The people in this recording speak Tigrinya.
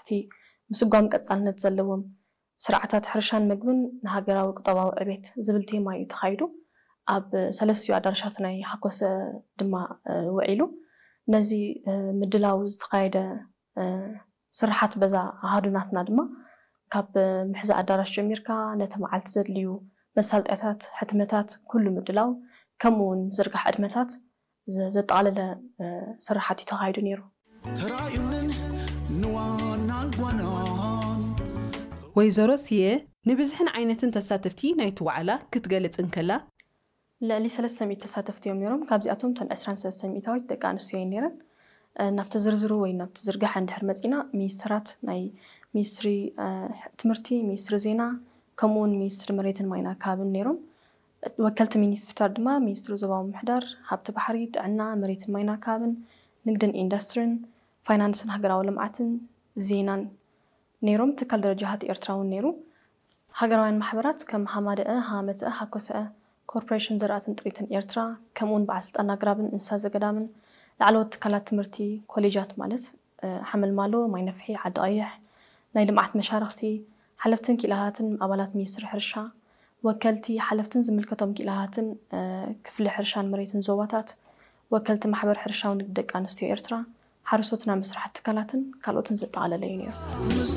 እቲ ምስጓም ቀጻልነት ዘለዎም ስርዓታት ሕርሻን መግብን ንሃገራዊ ቁጠባዊ ዕቤት ዝብል ቴማ እዩ ተኻይዱ። ኣብ ሰለስቲኡ ኣዳራሻት ናይ ሃኮሰ ድማ ውዒሉ። ነዚ ምድላው ዝተኻየደ ስርሓት በዛ ኣሃዱናትና ድማ ካብ ምሕዛ ኣዳራሽ ጀሚርካ ነቲ መዓልቲ ዘድልዩ መሳለጥያታት፣ ሕትመታት፣ ኩሉ ምድላው፣ ከምኡ እውን ምዝርጋሕ ዕድመታት ዘጠቓለለ ስርሓት እዩ ተኻይዱ ነይሩ። ተራእዩንን ንዋናን ጓናን። ወይዘሮ ስየ ንብዝሕን ዓይነትን ተሳተፍቲ ናይቲ ዋዕላ ክትገልጽ እንከላ፣ ልዕሊ ሰለስተ ሚእቲ ተሳተፍቲ እዮም ነይሮም። ካብዚኣቶም እተን ዕስራን ሰለስተ ሚእታዊት ደቂ ኣንስትዮ እየን ነይረን። ናብቲ ዝርዝሩ ወይ ናብቲ ዝርጋሐ እንድሕር መፂና፣ ሚኒስትራት ናይ ሚኒስትሪ ትምህርቲ፣ ሚኒስትሪ ዜና፣ ከምኡውን ሚኒስትሪ መሬትን ማይን ኣካባብን ነይሮም። ወከልቲ ሚኒስትርታት ድማ ሚኒስትሪ ዞባዊ ምምሕዳር፣ ሃብቲ ባሕሪ፣ ጥዕና፣ መሬትን ማይን ኣካባብን፣ ንግድን ኢንዱስትሪን፣ ፋይናንስን ሃገራዊ ልምዓትን ዜናን ነይሮም። ትካል ደረጃ ሃቲ ኤርትራ እውን ነይሩ። ሃገራውያን ማሕበራት ከም ሃማደአ፣ ሃመተአ፣ ሃኮሰአ፣ ኮርፖሬሽን ዘርኣትን ጥሪትን ኤርትራ፣ ከምኡውን በዓል ስልጣን ኣግራብን እንስሳ ዘገዳምን፣ ላዕለዎት ትካላት ትምህርቲ፣ ኮሌጃት ማለት ሓመልማሎ፣ ማይነፍሒ፣ ዓዲ ቀይሕ፣ ናይ ልምዓት መሻርኽቲ፣ ሓለፍትን ክኢላታትን ኣባላት ሚኒስትሪ ሕርሻ፣ ወከልቲ ሓለፍትን ዝምልከቶም ክኢላታትን ክፍሊ ሕርሻን መሬትን ዞባታት፣ ወከልቲ ማሕበር ሕርሻዊ ንግዲ ደቂ ኣንስትዮ ኤርትራ፣ ሓረስቶትና መስራሕቲ ትካላትን ካልኦትን ዘጠቓለለ እዩ ነይሩ።